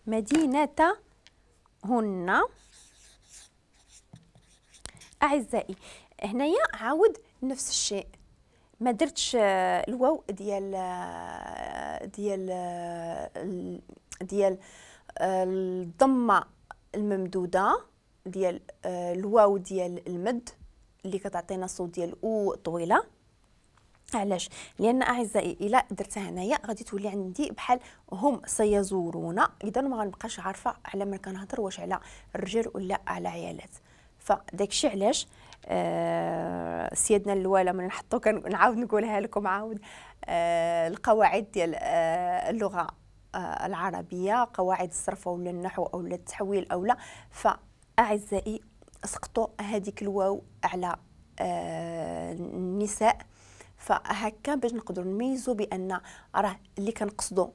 مدينتهن. أعزائي هنايا عاود نفس الشيء، ما درتش الواو ديال ديال ديال الضمة الممدوده ديال الواو ديال المد اللي كتعطينا صوت ديال او طويلة. علاش؟ لان اعزائي الا درتها هنايا غادي تولي عندي بحال هم سيزورون، اذا ما غنبقاش عارفه على من كنهضر، واش على الرجال ولا على عيالات. فداكشي علاش سيادنا الوالا من نحطو كنعاود نقولها لكم عاود، القواعد ديال اللغة العربية، قواعد الصرف ولا النحو او التحويل او لا. فاعزائي سقطوا هذيك الواو على النساء، فهكا باش نقدروا نميزوا بان راه اللي كنقصدوا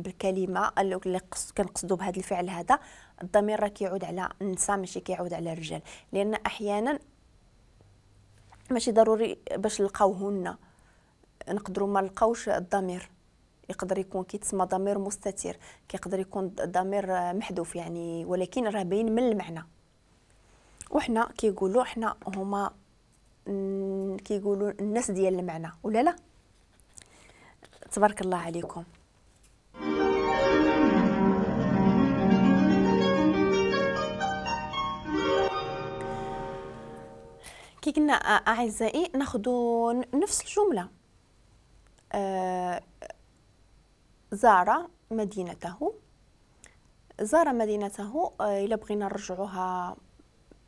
بالكلمة اللي كنقصدوا بهذا الفعل هذا الضمير راه كيعود على النساء ماشي كيعود على الرجال، لان احيانا ماشي ضروري باش نلقاوهن، نقدروا ما نلقاوش الضمير، يقدر يكون كيتسمى ضمير مستتر، كيقدر يكون ضمير محذوف يعني، ولكن راه باين من المعنى. وحنا كيقولوا حنا هما كيقولوا الناس ديال المعنى ولا لا؟ تبارك الله عليكم. كي قلنا اعزائي ناخذ نفس الجملة، زار مدينته، زار مدينته. الا بغينا نرجعوها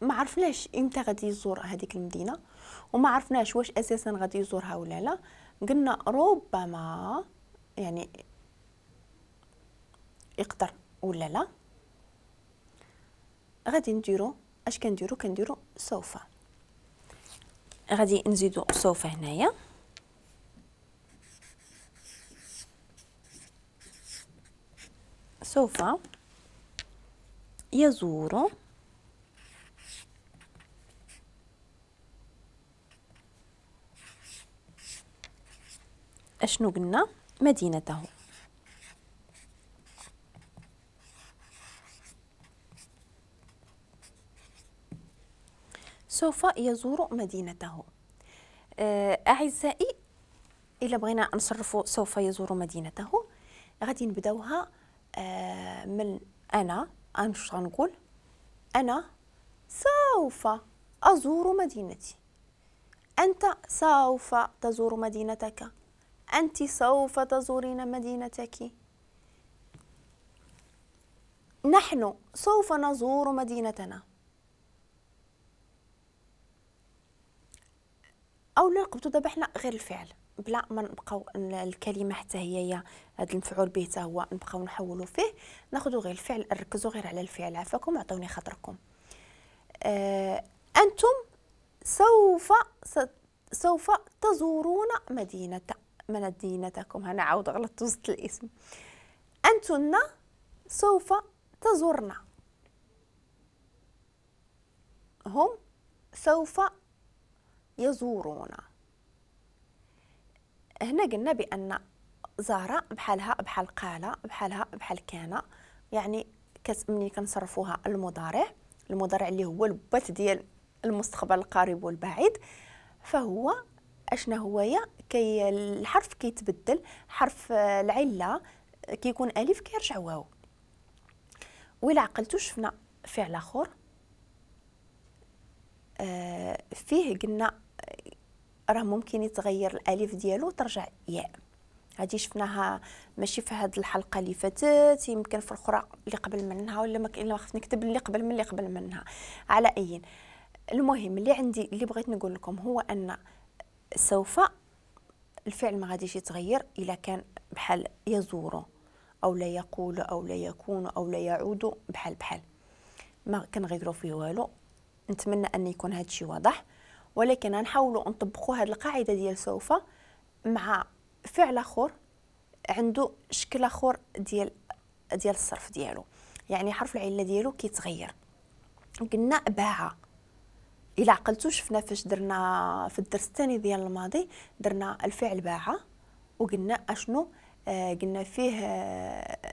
ما عرفناش امتى غادي يزور هذيك المدينة، وما عرفناش واش اساسا غادي يزورها ولا لا. قلنا ربما يعني يقدر ولا لا. غادي نديرو اش كنديرو؟ كنديرو سوف، غادي نزيدو سوف هنايا. سوف يزور اشنو قلنا؟ مدينته. سوف يزور مدينته. أعزائي إلا بغينا نصرفوا سوف يزور مدينته غادي نبداوها من أنا واش غنقول؟ أنا سوف أزور مدينتي، أنت سوف تزور مدينتك، أنت سوف تزورين مدينتك، نحن سوف نزور مدينتنا. أو لا نقبطو دابا حنا غير الفعل بلا ما نبقاو الكلمة حتى هي هذا المفعول به حتى هو نبقاو نحولو فيه، ناخذو غير الفعل، ركزوا غير على الفعل عافاكم، عطوني خاطركم. أنتم سوف تزورون مدينتكم. أنا عاود غلطت وسط الاسم. أنتن سوف تزورن، هم سوف يزورون. هنا قلنا بأن زار بحالها بحال قال بحالها بحال كان، يعني ملي كنصرفوها المضارع، المضارع اللي هو البات ديال المستقبل القريب والبعيد، فهو اشنا هويا كي الحرف كيتبدل، حرف العلة كيكون الف كيرجع واو. وإلا عقلتو شفنا فعل اخر فيه قلنا راه ممكن يتغير الالف ديالو ترجع ياء. هادي شفناها ماشي في هاد الحلقة اللي فاتت، يمكن في الاخرى اللي قبل منها، ولا ما كاين خفت نكتب اللي قبل من اللي قبل منها. على اي المهم اللي عندي اللي بغيت نقول لكم هو ان سوف الفعل ما غاديش يتغير الا كان بحال يزور او لا يقول او لا يكون او لا يعود، بحال بحال ما كنغيروا فيه والو. نتمنى ان يكون هذا الشيء واضح، ولكن غنحاولوا نطبقوا هذه القاعدة ديال سوف مع فعل اخر عنده شكل اخر ديال الصرف ديالو، يعني حرف العلة ديالو كيتغير. قلنا باع، الا عقلتو شفنا فاش درنا في الدرس الثاني ديال الماضي درنا الفعل باع، وقلنا اشنو قلنا فيه